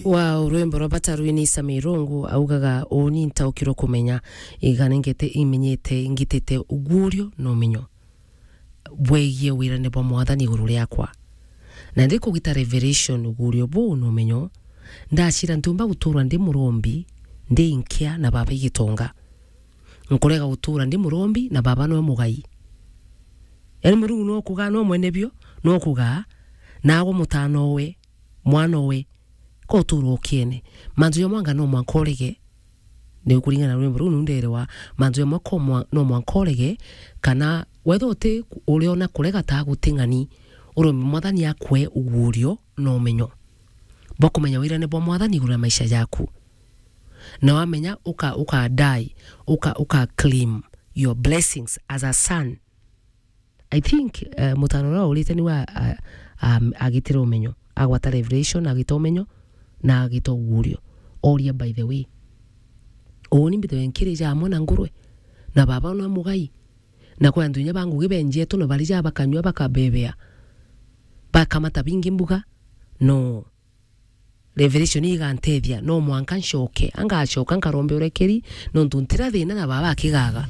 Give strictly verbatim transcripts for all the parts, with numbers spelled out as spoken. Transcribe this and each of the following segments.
Wa rwimbo rwa Bata rwini Sami Irungu augaga, "Uuni ntaukirwe kumenya, iganengete imenyete ngitite ugurio na umenyo bwegie wirane bwa Mwathani iguru riakwa. Na ndi kugita revelation ugurio buu na umenyo, ndacira ntiumba guturwa ndi murombi, ndi nkia na baba igitonga. Nkurega gutura ndi murombi na baba nwe mugai." Yani Murungu nwe ukugaa, nwe mwene bio, nwe ukugaa, naagwe mutanowe, mwanowe, ko uturwa ukiene. Mantu ja mwanga no mwanka urege, ni kuringana na rwimbo ruu nunderewa, mantu ja mwaka mwa-, no mwanka urege, kana wethwa uti uriona kurega ta guting'ani, urombe Mwathani akwe ugurio na umenyo bwa kumenya wirane bwa Mwathani iguru ya maisha jaku. Na wamenya uka, uka die, uka, uka claim your blessings as a son. I think, eh, mutano uria urite niwe a-, a-, am-, agitire umenyo, agwata revelation, agita umenyo, na agita ugurio. Oria, by the way, uuni mbithawe nkiri ja amwe na ngurwe, na baba na mugai, na kwi antu inya ba ngugi benjetwe, na bari ja bakanyua bakabebea, bakamata bingi mbuga? No. Revelation igantethia, no mwanka ncoke. Angacoka nkarombe urekeri, nontu ntira thina na baba akigaga.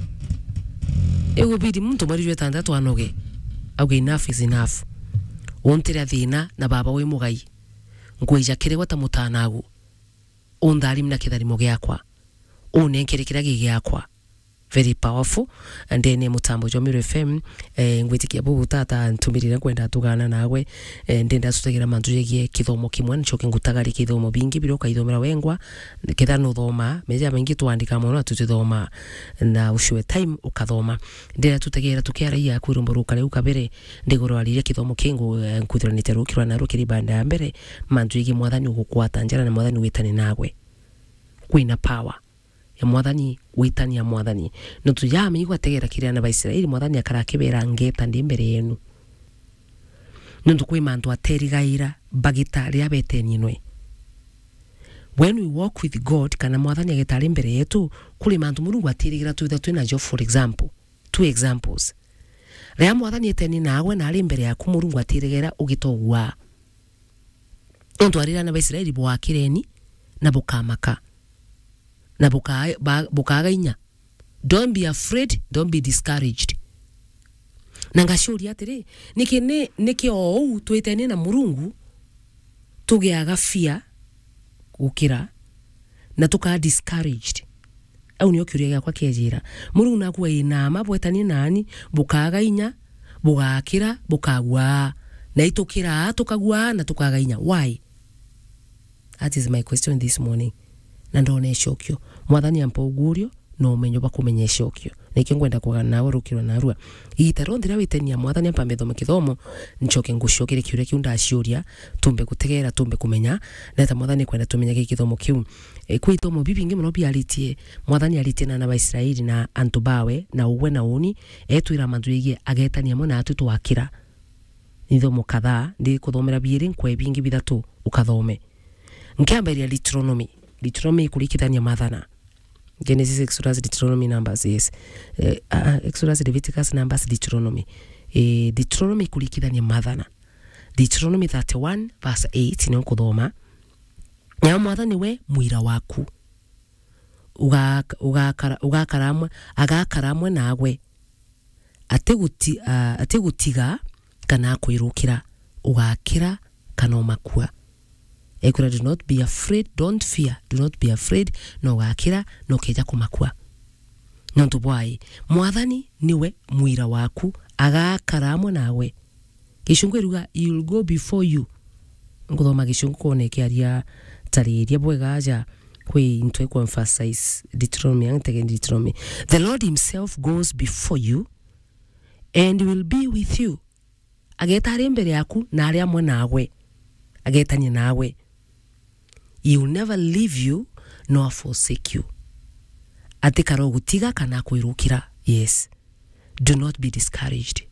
Igubidi muntu mweri jwa itantatu anoge, auge, "Enough is enough. Untira thina na baba wi mugai. Nkwija kiri gwe ta mutanagu. Untharimi na kitharimo giakwa. Unenkere kiria gi giakwa." Very powerful. Ndene mutambo jwa Meru F M, eh, ngwitikia buu tata ntumirire nkwenda tugana nawe. Eh, ndenda tutegera mantu jegie kithomo kimwe, ncoke ngutagarie kithomo bingi biria ukaithomera wengwa. Ketha nuthoma, meja maingi twandika mono na tutithoma na ucue time ukathoma. Ndenda tutegera tukiaragia kwi rumbo ruka riu kabere, ndigurwariria kithomo kingu, eh, nkwithiranite rukirwa na rukiri banda ya mbere, mantu jegie Mwathani ugukwata njara na Mwathani witane nawe. Kwina power ya Mwathani, gwitania Mwathani. Nontu ja amenya gwategera kiri ana ba Israeli, Mwathani akara akibera, "Ngeta ndi mbere yenu." Nontu kwi mantu aterigaira bagita riria betenie nwe. When we walk with God, kana Mwathani ageta ari mbere yetu, kuri mantu Murungu atirigira twithirwa twina jo. For example, two examples. Riria Mwathani etenie nawe na ari mbere yaku, Murungu atirigira ugitogua. Nontu arira ana ba Israeli, "Bwakireni na bukamaka, na buka-, ba-, bukaga inya. Don't be afraid, don't be discouraged." Na ngaciuria atiri, niki ni, niki o uu twitenie na Murungu tugiaga fear gukira na tukaa discouraged? Au nio kiuria giakwa kiejira. Murungu naku ina mma, bwetanie nani, bukaaga inya, bugakira, bukagua. Na itukiraa, tukagua, na tukaaga inya. Why? That is my question this morning. Na ndona icokio. Mwathani ampa ugurio na umenyo bwa kumenya icokio. Nikio ngwenda kugana nawe rukiro narua. Igita rionthe riria witenia Mwathani ampa mbithome kithomo, ncoke ngucokere kiuria kiu ndaciuria, tumbe gutegera, tumbe kumenya, na eta Mwathani kwenda tumenyage kithomo kiu. E, kwi ithomo bibingi mono biaritie, Mwathani aritie na ana ba Israeli na antu bawe, na ugwe na uni, etwira mantu jegie agetania amwe na atwi twakira. Ni ithomo kadhaa, ndikuthomera biiri, nkwe bingi bithatu ukathome. Nkiambiria Deuteronomy. Deuteronomy ikurikithania Mathana. Genesis, Exodus, Deuteronomy, Numbers, yes. Eh, ah, ah, Exodus, Leviticus, Numbers, Deuteronomy. Eh, Deuteronomy ikurikithania Mathana. Deuteronomy thirty-one verse eight nio nkuthoma. Na Mwathani we muira waku. Ugak-, ugakara, ugakara amwe, agakara amwe nawe. Atiguti-, ah, atigutiga kana akwirukira, ugakira kana umakua. Ekwira, "Do not be afraid, don't fear, do not be afraid," na ugakira, na ukeja kumakua. Nontu bwai, Mwathani niwe muira waku, agakara amwe nawe. Gicungu iruga, "He will go before you." Nkuthoma Gicungu kwona ikiaria tariria bwega aja kwi into iku emphasize Deuteronomy, ang tege Deuteronomy. "The Lord himself goes before you and will be with you." Ageta ari mbere yaku na ari amwe nawe. Agetania nawe. "He will never leave you nor forsake you." Atikara ugutiga kana akwirukira. Yes. Do not be discouraged.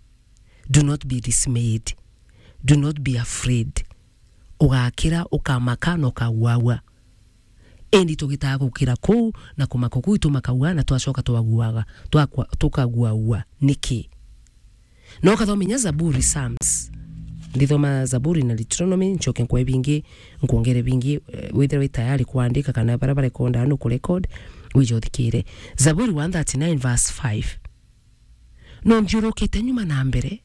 Do not be dismayed. Do not be afraid. Ugakira, ukamaka na ukaguagua. Indi tugitaga gukira kuu na kumaka kuu, itumakaua na twacoka twaguaga, twakwa-, tukaguaua. Niki? Na ukathoma inya Zaburi, Psalms. Ndithoma Zaburi na Deuteronomy, ncoke nkwe bingi, nkwongere bingi, eh, withire wi tayari kwandika kana bara barekonda no kurecord, wije uthikire. Zaburi one thirty-nine verse five. "No nthiurukite nyuma na mbere,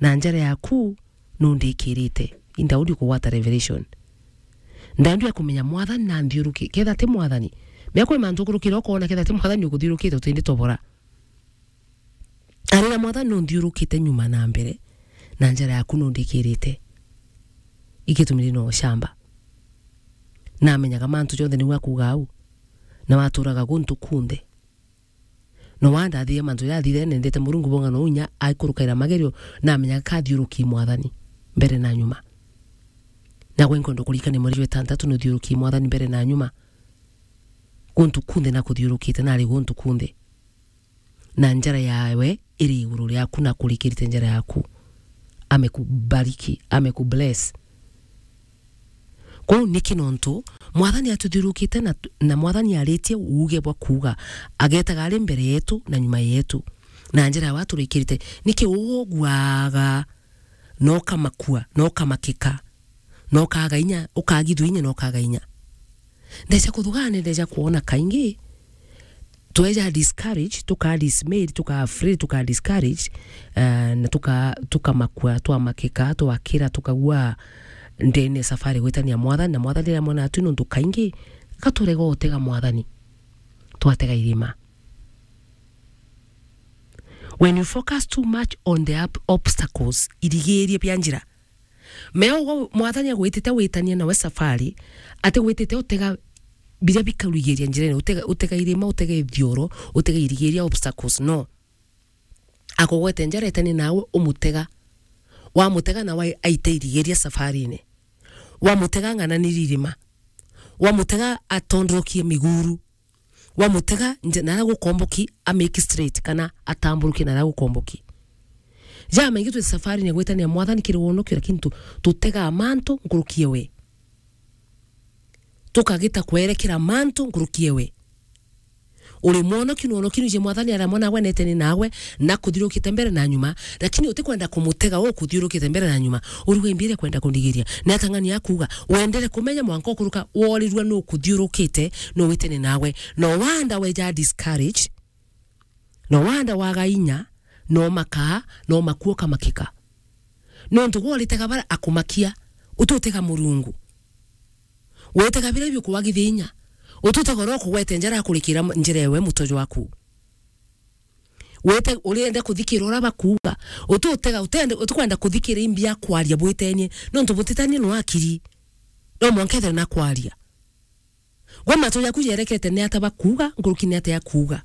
na njara yaku no ndikirite." I Daudi kugwata revelation. Daudi akumenya Mwathani na nthiuruki-, ketha ti Mwathani. Mea kwi mantu ukurukira ukoona ketha ti Mwathani ukuthiurukite utindi tobora. Arira Mwathani no nthiurukite nyuma na mbere, na njara yaku no ndikirite. Igitumire no shamba. Namenyaga mantu jonthe niwe akuuga au. Na waturaga guntu kunthe. No wandathire mantu jathire, nendete Murungu bonga no unya aikurukaira magerio, namenyaga kathiuruki Mwathani mbere na nyuma. Na gwe nkwenda kurikania mweri jwa itantatu nuthiuruki Mwathani mbere na nyuma. Guntu kunthe na kuthiurukite, nari guntu kunthe. Na njara yawe iri iguru riaku na kurikirite njara yaku. Amekubariki, amekubless. Kwou niki nontu Mwathani atuthiurukite na, na Mwathani aritie uuge bwa kuuga, agetaga ari mbere yetu na nyuma yetu. Na njara yawe aturikirite, niki uguaga, na ukamakua, na ukamakika, na ukaga inya, ukagithua inya, na ukaga inya. Ndeja kuthugana, ndeja kuona kaingi, tweja discourage, tuka dismayed, tuka afraid, tuka discourage, eh, na tuka, tukamakua, twamakika, twakira, tukagua ndene safari gwitania Mwathani, na Mwathani riria mwana atu nontu kaingi, gaturega utega Mwathani, twatega irima. When you focus too much on the ob-, obstacles, irigiria bia njira, mea ugo Mwathani agwitite witanie nawe safari, ati gwitite utega biria bikarugiria njirene, utega, utega irima, utega ithioro, utega irigiria, obstacles, no. Akugwete njara etani nawe umutega. Wamutega nawe aite irigiria safarine. Wamutega ng'ananiri irima. Wamutega atondorokie miguru. Wamutega nje-, nara gukomboki a make straight kana atamburuke nara gukomboki. Jamaingi twi safarine gwitania Mwathani kiri wonokio, lakini tu-, tutegaa mantu nkurukie we. Tukagita kwerekera mantu nkurukie we. Uri mwonoki, nwonoki nije Mwathani aria mwana gwe neteni nawe, na kuthiurukite mbere na nyuma, lakini utikwenda kumutega ukuthiurukite mbere na nyuma. Uruga imbi iria kwenda kundigiria. Ni atang'ani akuuga, wendere kumenya mwanka ukuruka worirua nu kuthiurukite, nu witene nawe. No wanda weja discourage, no wanda waga inya, no makaa, no makua ukamakika. Nontu gwe uritega bara akumakia, ututega Murungu. Wetega biria biukuwagithia inya, ututega uria ukugwete njara akurikira m-, njira ewe mutojo waku. Wete urienda kuthikira uria bakuuga. Ututega, utende, utikwenda kuthikira imbi ya kwaria bwitenie, nontu butitanie no akiri. No mwanka ethire na kwaria. Gwe matu jaku jerekete ni ata bakuuga, nkuruki ni ata akuuga.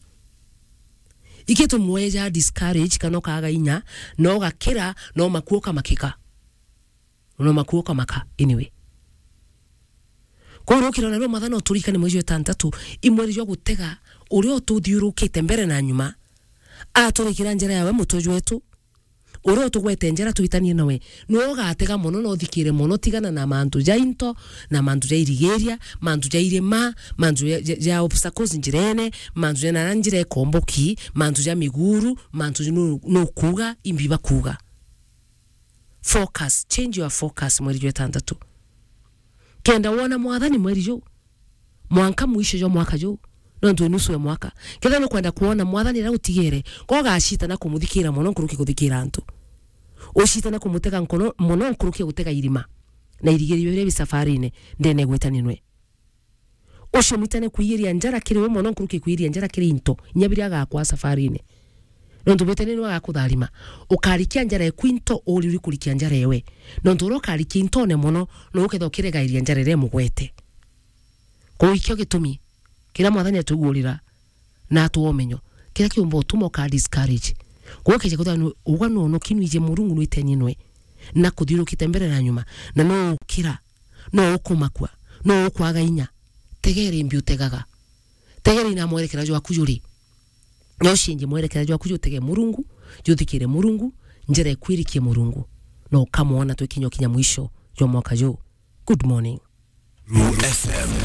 Iki tumweja discourage kana ukaga inya, no gakira, no makua ukamakika. No makua ukamaka, anyway. Kwou rukiro narua Mwathani uturikane mweri jwa itantatu, i mweri jwa gutega uria ututhiurukite mbere na nyuma, aturikira njira yawe mutwe jwetu, uria utugwete njira twitanie nawe, niwe ugatega mono na uthikire mono, tigana na mantu ja into, na mantu ja irigiria, mantu ja irima, mantu ja, ja, ja obstacles njirene, mantu ja nara njira ikomboki, mantu ja miguru, mantu nu-, nukuuga, imbi bakuuga. Focus, change your focus mweri jwa itantatu. Kenda wona Mwathani mweri juu, mwanka mwisho jwa mwaka juu, nontu nusu ya mwaka. Ketha nukwenda kwona Mwathani aria utigere, ko ugacitana kumuthikira mono nkuruki kuthikira antu. Ucitana kumutega nkono mono nkuruki gutega irima, na irigirio biria bi safarine ndene gwitania nwe. Ucio mwitane kwigiria njara kiri we mono nkuruki kwigiria njara kiri into, inya biria agakwa safarine. Nontu bwite ni niwe agakutharima. Ukarikia njara eku into, uri uri kurikia njara ewe. Nontu uria ukarikia intone mono, no uketha ukiregairia njara iria imugwete. Kwou ikio gitumi kiria Mwathani atugurira na atwa umenyo, kiria kiumba utuma uka discourage. Kwou ukeja kwithirwa ni ugwa nwonoki nwije Murungu nwitenie nwe, na kuthiurukite mbere na nyuma, na no ukira, no ukumakua, no ukwaga inya. Tegera imbi utegaga. Tegera ina mwerekera jwaku juri. No ucenjie mwerekera jwaku jutege Murungu, juthikire Murungu, njira ikwirikie Murungu. No ukamwona twikinya ukinya mwisho jwa mwaka juu. Good morning. Meru F M.